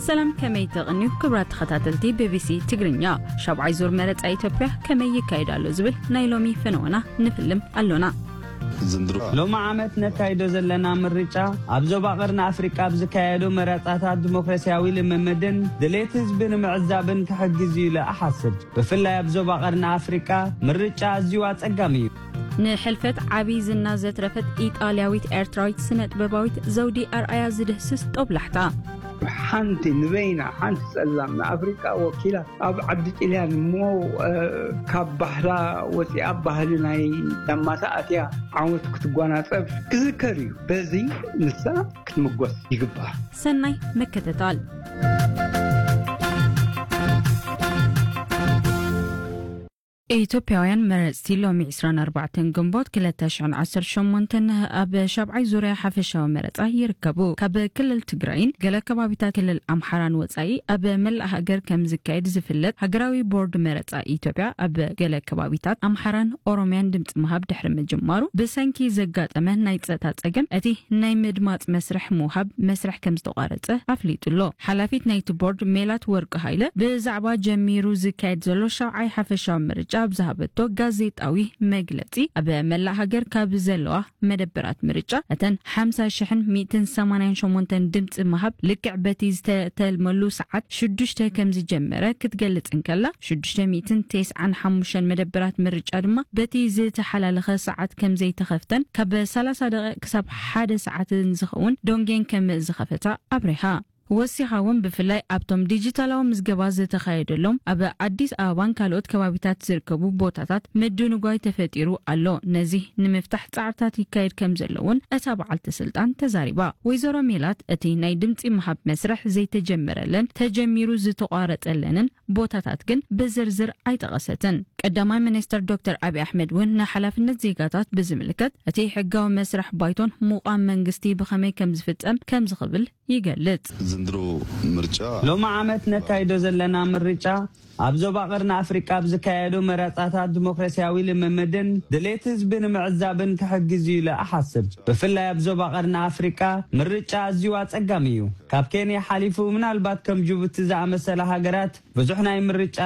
ሰላም፣ ከመይ ትቕንዩ ክቡራት ተኸታተልቲ ቢቢሲ ትግርኛ? ሻብዓይ ዙር መረጻ ኢትዮጵያ ከመይ ይካየድ ኣሎ ዝብል ናይ ሎሚ ፈነወና ንፍልም ኣሎና። ሎም ዓመት ነካይዶ ዘለና ምርጫ ኣብ ዞባ ቀርኒ ኣፍሪቃ ኣብ ዝካየዱ መረጻታት ዲሞክራሲያዊ ልምምድን ድሌት ህዝቢ ንምዕዛብን ክሕግዝ እዩ ኢለ እሓስብ። ብፍላይ ኣብ ዞባ ቀርኒ ኣፍሪቃ ምርጫ ኣዝዩ ኣጸጋሚ እዩ። ንሕልፈት ዓቢ ዝና ዘትረፈት ኢጣልያዊት ኤርትራዊት ስነ ጥበባዊት ዘውዲ ኣርኣያ ዝድህስስ ጦብላሕታ። ሓንቲ ንበይና ሓንቲ ጸላም ንኣፍሪቃ ወኪላ ኣብ ዓዲ ጥልያን እሞ ካብ ባህላ ወፂኣ ባህሊ ናይ ዳማታ ኣትያ ዓወት ክትጓናፀፍ ክዝከር እዩ። በዚ ንሳ ክትምጎስ ይግባእ። ሰናይ ምክትታል። ኢትዮጵያውያን መረፅቲ ሎሚ ዕስራን ኣርባዕተን ግንቦት ክልተ ሽሕን ዓሰርተ ሸሞንተን ኣብ ሻብዓይ ዙርያ ሓፈሻዊ መረፃ ይርከቡ። ካብ ክልል ትግራይን ገለ ከባቢታት ክልል ኣምሓራን ወፃኢ ኣብ መላእ ሃገር ከም ዝካየድ ዝፍለጥ ሃገራዊ ቦርድ መረፃ ኢትዮጵያ ኣብ ገለ ከባቢታት ኣምሓራን ኦሮሚያን ድምፂ ምሃብ ድሕሪ ምጅማሩ ብሰንኪ ዘጋጠመ ናይ ፀጥታ ፀገም እቲ ናይ ምድማፅ መስርሕ ምውሃብ መስርሕ ከም ዝተቋረፀ ኣፍሊጡ ኣሎ። ሓላፊት ናይቲ ቦርድ ሜላት ወርቂ ሃይለ ብዛዕባ ጀሚሩ ዝካየድ ዘሎ ሻብዓይ ሓፈሻዊ ምርጫ ኣብ ዝሃበቶ ጋዜጣዊ መግለፂ ኣብ መላእ ሃገር ካብ ዘለዋ መደበራት ምርጫ እተን ሓምሳ ሽሕን ሚእትን ሰማንያን ሸሞንተን ድምፂ ምሃብ ልክዕ በቲ ዝተተልመሉ ሰዓት ሽዱሽተ ከም ዝጀመረ ክትገልፅ እንከላ ሽዱሽተ ሚእትን ተስዓን ሓሙሽተን መደበራት ምርጫ ድማ በቲ ዝተሓላለኸ ሰዓት ከም ዘይተኸፍተን ካብ ሰላሳ ደቂቕ ክሳብ ሓደ ሰዓት ዝኸውን ዶንጌን ከም ዝኸፈታ ኣብሪሃ። ወሲኻ እውን ብፍላይ ኣብቶም ዲጂታላዊ ምዝገባ ዝተኻየደሎም ኣብ ኣዲስ ኣበባን ካልኦት ከባቢታት ዝርከቡ ቦታታት ምድንጓይ ተፈጢሩ ኣሎ። ነዚ ንምፍታሕ ጻዕርታት ይካየድ ከም ዘሎ እውን እታ በዓልቲ ስልጣን ተዛሪባ። ወይዘሮ ሜላት እቲ ናይ ድምፂ ምሃብ መስርሕ ዘይተጀመረለን ተጀሚሩ ዝተቋረፀለንን ቦታታት ግን ብዝርዝር ኣይጠቐሰትን። ቀዳማይ ሚኒስትር ዶክተር ኣብይ ኣሕመድ እውን ንሓላፍነት ዜጋታት ብዝምልከት እቲ ሕጋዊ መስርሕ ባይቶን ምቋም መንግስቲ ብኸመይ ከም ዝፍጸም ከም ዝኽብል ይገልጽ። ዘንድሮ ምርጫ ሎም ዓመት ነካይዶ ዘለና ምርጫ ኣብ ዞባ ቀርኒ ኣፍሪቃ ኣብ ዝካየዱ መረጻታት ዲሞክራሲያዊ ልምምድን ድሌት ህዝቢ ንምዕዛብን ክሕግዝ እዩ ኢለ እሓስብ። ብፍላይ ኣብ ዞባ ቀርኒ ኣፍሪቃ ምርጫ ኣዝዩ ኣጸጋሚ እዩ። ካብ ኬንያ ሓሊፉ ምናልባት ከም ጅቡቲ ዝኣመሰላ ሃገራት ብዙሕ ናይ ምርጫ